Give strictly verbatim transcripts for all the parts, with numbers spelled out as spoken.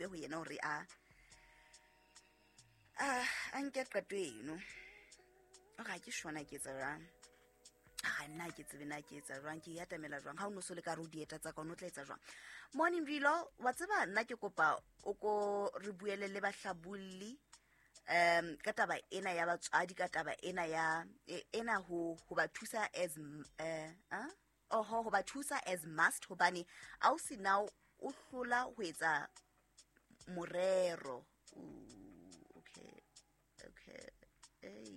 Bobebe ho yena hore a a a nke qeto eno. O re ha ke shona ke etsa jwang, ha nna ha ke tsebe na ke etsa jwang, ke e atamela jwang. Ha o no so le ka re o dieta tsa ka, o no tla etsa jwang? Morning Rilo, wa tseba nna ke kopa o ko re buele le bahlabolli um ka taba ena ya batswadi, ka taba ena ya e- ena ho ho ba thusa as m- eh ah? Oho, ho ba thusa as must, hobane ausi now o hlola ho etsa morero. Ooh, okay okay Ei,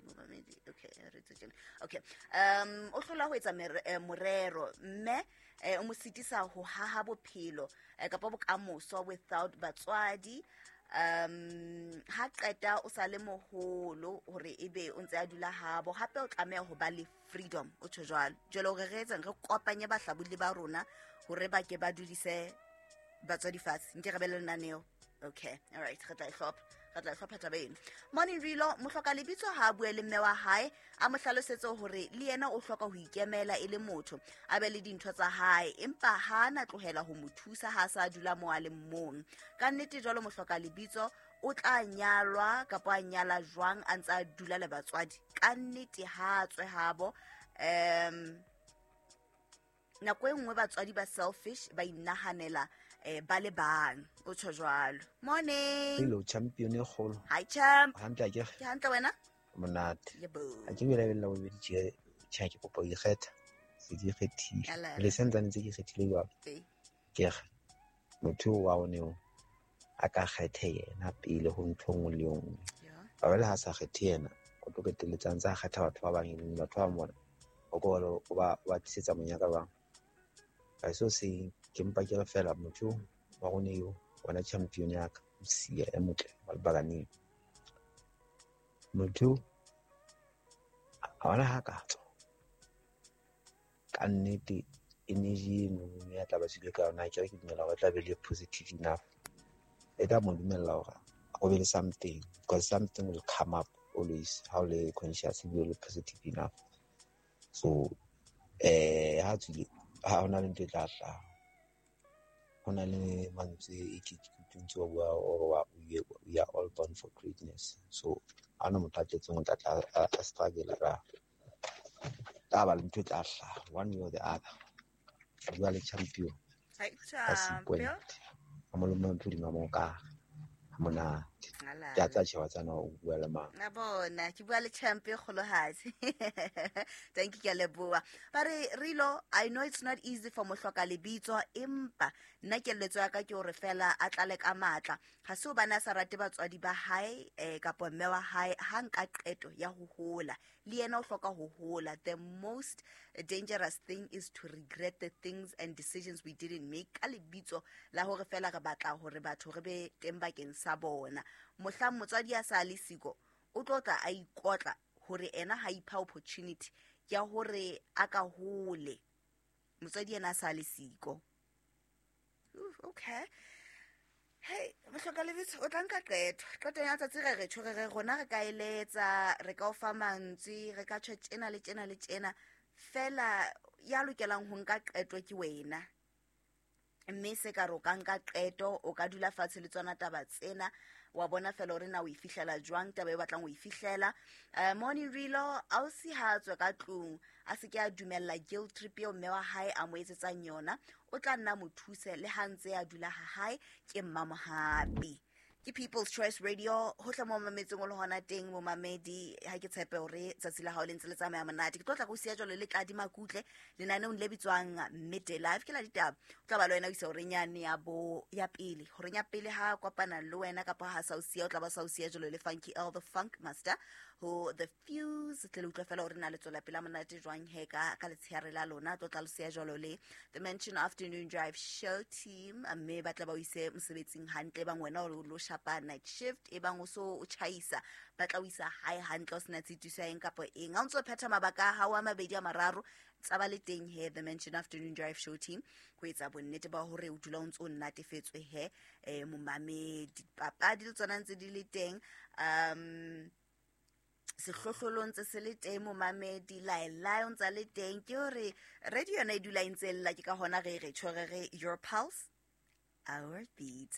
momamedi, okay, re etse tjena. Okay, um o hlola ho etsa mere- eh, morero, mme eh, o mo sitisa ho haha bophelo eh, kapa bokamoso without batswadi. um ha qeta o sa le moholo hore ebe o ntse a dula habo, hape o tlameha ho ba le freedom. O tjho jwalo. Jwale hore re etseng, re kopanye bahlabolli ba rona hore ba ke ba dudise batswadi fatshe, nke re be le lenaneo. Okay, all right, re tla e hlopha, re tla e hlopha taba eno. Morning Rilo, mohloka lebitso ha a bue le mme wa hae, a mo hlalosetse hore le yena o hloka ho ikemela e le motho, a be le dintho tsa hae, empa ha a na tlohela ho mo thusa ha a sa dula mo a leng mong. Ka nnete jwalo mohloka lebitso o tla nyalwa kapa a nyala jwang a ntse a dula le batswadi? Ka nnete ha a tswe habo. um nako e nngwe batswadi ba selfish, ba inahanela eh, ba le bang. O tjho jwalo. Morning. Hello, champion e kgolo. Hi champ. Hantle akere? Ke hantle, wena? Monate. Yebo. Ha ke belaela bobedi tje, tjhe, ke kopa ho ikgetha. Se ke ikgethile. Alala. Le santsane tse ke ikgethile jwalo. Ee. Ke re motho eo wa rona eo a ka kgethe yena pele ho ntho e nngwe le e nngwe. Ya. Ba le ha sa kgethe yena, o tlo qetelletse a ntse a kgetha batho ba bang, e leng batho ba bang bona o ko o ba o ba tlisetsa monyaka bang. Ka seo se ke mpa ke re fela motho wa rona eo, wena champion ya ka, o siya e motle wa lebakaneng. Motho a bona ha ka tswa ka nnete, energy eno ya tla ba tswile ka yona, akere ke dumela hore e tla be le positive enough, e tla mo dumella hore o be le something, because something will come up always ha o le conscious ebile o le positive enough. So eh ha tswile, ha hona le ntho e tla hlaha. Ho na le mantswe e ke ke ntse wa bua o wa we we are all born for greatness. So ha hona motho a tletseng o tla tla a a struggle ka tla ba le ntho e tla hlaha one way or the other. Bua le champion Hi ka champion. sequent. Ha molemo ntho di mo ka ha monate. Alala. Ke a tsa tjhe wa tsana o bua le mang. Na bona ke bua le champ e kgolohadi. Thank you, ke a leboha. Ba re Rilo, I know it's not easy for mohloka lebitso, empa nna keletso ya ka ke hore fela a tlale ka matla. Ha se hobane a sa rate batswadi ba hae eh, kapa mme wa hae, ha nka qeto ya ho hola. Le yena o hloka ho hola. The most dangerous thing is to regret the things and decisions we didn't make ka lebitso la hore fela re batla hore batho re be teng bakeng sa bona. Mohlang motswadi a sa le siko, o tlo tla a ikotla hore ena ha ipha opportunity ya hore a ka hole. Motswadi ena a sa le siko. Ooh, okay. Hey, mohloka lebitso, o tla nka qeto. Qeto ya tsatsi re re tjho, re re rona re ka eletsa, re ka o fa mantswe, re ka tjho tjena le tjena le tjena. Fela ya lokelang ho nka qeto ke wena. Mme se ka re o ka nka qeto, o ka dula fatshe le tsona taba tsena, wa bona fela hore na o e fihlela jwang taba e o batlang ho e fihlela. Eh, morning Rilo, ausi ha a tswe ka tlung, a se ke a dumella guilt trip eo mme wa hae a mo etsetsang yona, o tla nna mo thuse le ha ntse a dula ha hae. Ke Mmamohapi. Ke People's Choice Radio, hohle mo mametseng o le hona teng momamedi. Ha ke tshepe hore tsatsi la hao le ntse le tsamaya monate. Ke tlo tla go siya jwalo le Tladi Makutle lenaneong le bitswang Midday Live. Ke la ditaba, o tla ba le wena o isa horeng yane ya bo ya pele, horeng ya pele ha kopana le wena kapa ha sa o siya, o tla ba sa o siya jwalo le Funky L the Funk Master ho The Fuse. Tle le utlwa fela hore na le tswela pele monate jwang he ka ka letsheare la lona. Tlo tla le siya jwalo le The Mansion Afternoon Drive Show Team, mme ba tla ba o ise mosebetsing hantle, bang wena o lo shapa night shift, e bang o so o tjhaisa, ba tla o isa hae hantle, o sena tshitiso ya eng kapa eng. Ha o ntso phetha mabaka a hao a mabedi a mararo, tsa ba le teng he The Mansion Afternoon Drive Show Team ho etsa bonnete ba hore o dula o ntso o nnatefetswe he eh, momamedi. Papadi le tsona ntse di le teng, um sehlohlolong ntse se le teng momamedi, laelae o ntsa le teng. Ke hore radio yona e dula e ntse lla, ke ka hona re re tjho re re your pulse, our beats.